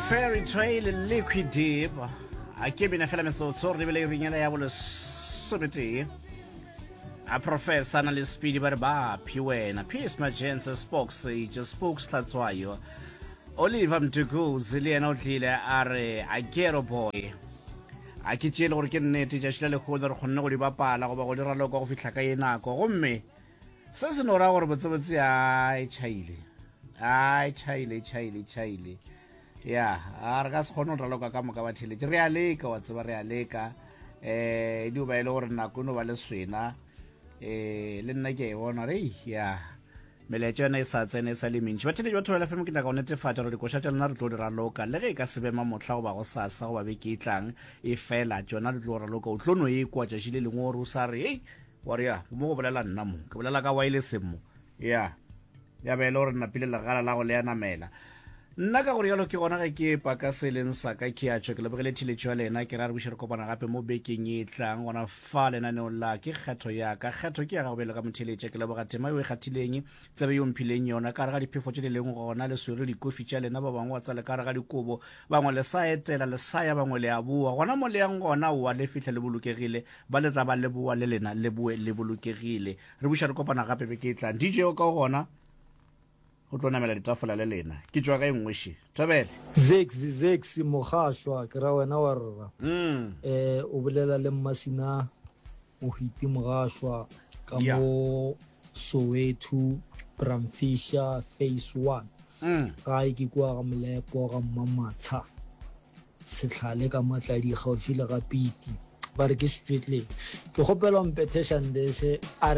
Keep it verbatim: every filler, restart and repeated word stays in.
Fairy Trail Liquid Deep a ke bina fela metsotso re lebele irinyela ya bolesometee a professor na le speedy ba re ba phi wena Peace Majense Spokes je Spokes Hlatswayo Oliver Mtukuzi le yena o tlile a re a ghetto boy a ke tšeele gore ke nnete tšatši la lekgono re kgonne go di bapala goba go di raloka go fihla ka ye nako gomme se se no ra gore botsebotse a e tšhaile a e tšhaile e tšhaile e tšhaile ya a re ka se kgone go raloka ka moka ba theletše re a leka wa tseba re a leka um di o ba e le gore nako e no ba le swena um le nna ke a e bona re ya melaetša yona e sa tsene e sa le mentši batheletši ba Thobela FM ke nyaka go netefatša gore dikoša tša lena re tlo di raloka le ge e ka se be mamohla goba go sasa goba beke e tlang e fela tšona di tlo raloka o tlo no e kwa tšatši le lengwe gore o sa re ei wa re ya mo go bolela nna mo ke bolela ka wireless mo ya ya be e le gore napile legala la go le ya namela nna ka gore jalo ke gona ge ke paka se leng sa ka ke a tšho ke lebogele theletšo ya lena ke ra re buše re kopana gape mo bekeng e tlang gona fa lenaneong la ke kgetho ya ka kgetho ke ya gago bjalo ka motheletša ke leboga tema yo e kgathileng tsebe yo mphileng yona ka gare ga diphefo tše di leng gona le swere dikofi tša lena ba bangwe wa tsale ka gare ga dikobo bangwe le sa etela le sa ya bangwe le a boa gona mo le yang gona oa le fihla le bolokegile ba le tla ba le boa le lena le boe le bolokegile re buša re kopana gape beke e tlang dj o ka o gona go tlo namela ditafola le lena ke tšwa ka e nngwe še thabele Zex Zex Mogašwa ke ra wena wa rra mm. eh o bolela le Mmasina Mohwiti Mogašwa ka Yeah. mo Soweto Bramfisher phase one Mm. gae ke kua ga Molepo ga Mmamatsha setlhale ka matladi gaufi le ga Piti ba re ke Setswetleng ke kgopela mpethe Shandese a